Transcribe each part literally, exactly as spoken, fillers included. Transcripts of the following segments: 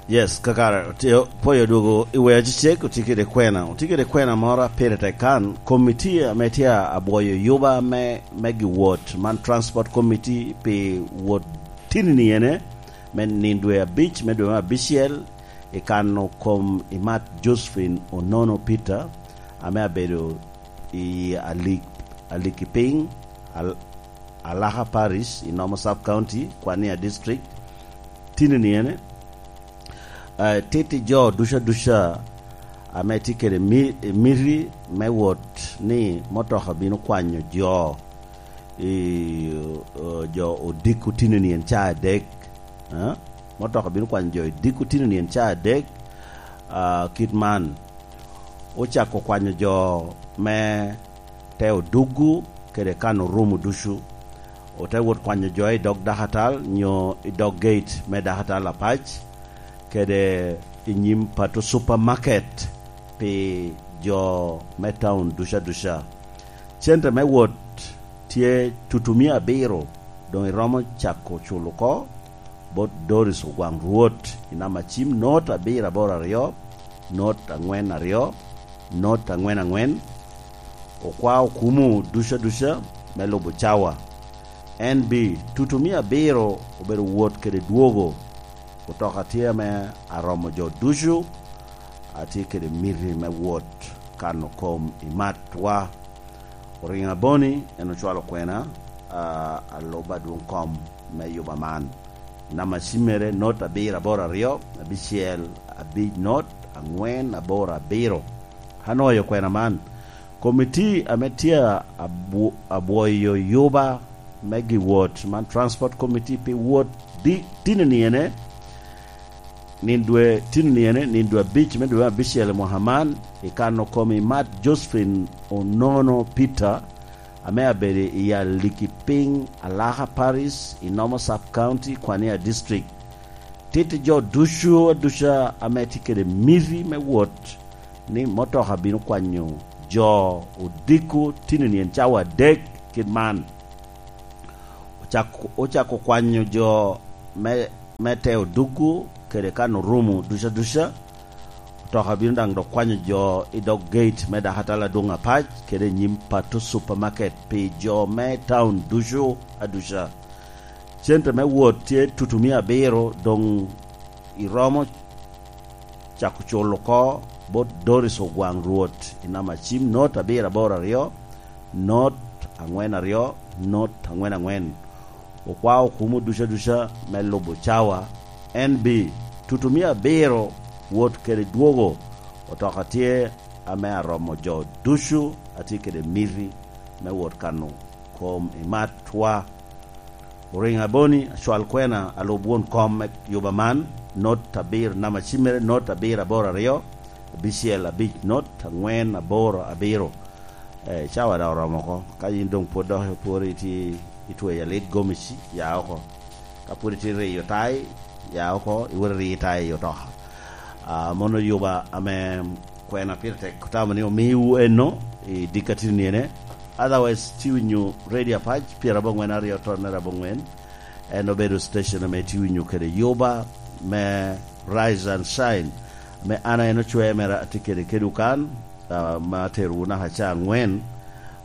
Yes, kakare, otye, pwoyo dwogo i wea cecek, otye kede kwena. Otye kede kwena moro a pire tek kan, komiti ame tye abwoyo yuba me, me giwot, man transport committee pi wot tinini ene, me nino dwe abic, me dwe me abicel, i kano kom i mat Josephine Onono Peter, ame abedo i Alik-, Alikipiny, Al-, Alaka Parish, i Nomo Sub County, Kwania District, tinini ene, eh, titi jo duca duca ame tye kede mi-, miti me wot ni motoka bino kwanyo jo i, eh, jo odiko tinini en ca adek, eh? Motoka bino kwanyo jo odiko tinini en ca adek, ah, kit man. Ocako kwanyo jo me te oduggu kede kan orumo ducu. Ote wot kwanyo jo i dog dakatal nyo i dog gate me dakatal apac, kede i nyim Pato Supermarket pi jo me taun duca duca. Cente me wot tye tutumia abiro, doŋ iromo cako culo oko bot Doris Ogwaŋ Rwot i namba cim not abiro aboro aryo, not aŋwen aryo, not aŋwen aŋwen. Okwao kumu duca duca me lubo cawa. N B, tutumia abiro obedo wot kede dwogo. Otoka tye ame aromo jo ducu, atye kede miti me wot kano kom i matwa. Oriŋo aboni, en ocwalo kwena, a, alubo adwoŋ kom me yuba man. Namba cimmere, not abiro aboro aryo, abicel abic not, aŋwen aboro abiro. Anoyo kwena man. Komiti ame tye abwo-, abwoyo yuba me giwot, man Transport Committee pi wot di-, tinini ene, nin dwe, tinini ene, nin dwe abic me dwe me abicel i mwaka man, i kano kom i mat Josephine Onono Peter, ame abedo i Alikipiny, Alaka Parish, i Nomo Sub County, Kwania District. Titi jo ducu aduca ame tye kede miti me wot ni motoka bino kwanyo jo odiko tinini en cawa adek kit man. Ocako, ocako kwanyo jo me, me te oduggu kede kan orumo duca duca. Otoka bino daŋ dok kwanyo jo i dog gate me dakatal adwoŋ apac kede i nyim Pato Supermarket pi jo me taun ducu aduca. Cente me wot tye tutumia abiro, doŋ iromo cako culo oko bot Doris Ogwaŋ Rwot i namba cim not abiro aboro aryo, not aŋwen aryo, not aŋwen aŋwen. Okwao kumo duca duca me lubo cawa. N B, tutumia abiro, wot kede dwogo. Otoka tye ame aromo jo ducu atye kede miti me wot kano kom i matwa. Oriŋo aboni, acwal kwena, alub won kom me yuba man, not abiro, namba cimmere, not abiro aboro aryo, abicel abic, not aŋwen aboro abiro. Eh, cawa daŋ oromo oko. Ka yin doŋ pwod dok ipworo itye itweyo alit gomici, ya oko. Ka pwod itye riyo tai, ya oko, iwot iri tai i otoka. Ah, mono yuba ame kwena pire tek otamo ni omiwu eno i dikka tini ene. Otherwise, tye winyo Radio Apac, pyerabongwen aryo tonnere abongwen. En obedo station ame tye winyo kede yuba me Rise and Shine, ame an en ocwer mere atye kede kedwu kan, ah, ma aterowu naka ca angwen.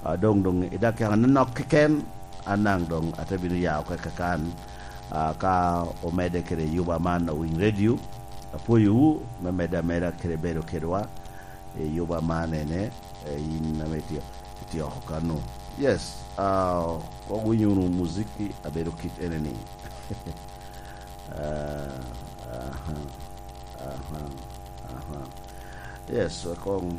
Ah, doŋ, doŋ i dakika anonok keken, an daŋ doŋ ate bino ya oko i kakan, ah, ka omedde kede yuba man Owiny Radio. Apwoyowu me medde ameda kede bedo kedwa i yuba man ene, eh, in ame itye, itye oko kano. Yes, ah, kok winyo wunu muziki abedo kit ene ni. Ah, aha, aha, aha. Yes, akong.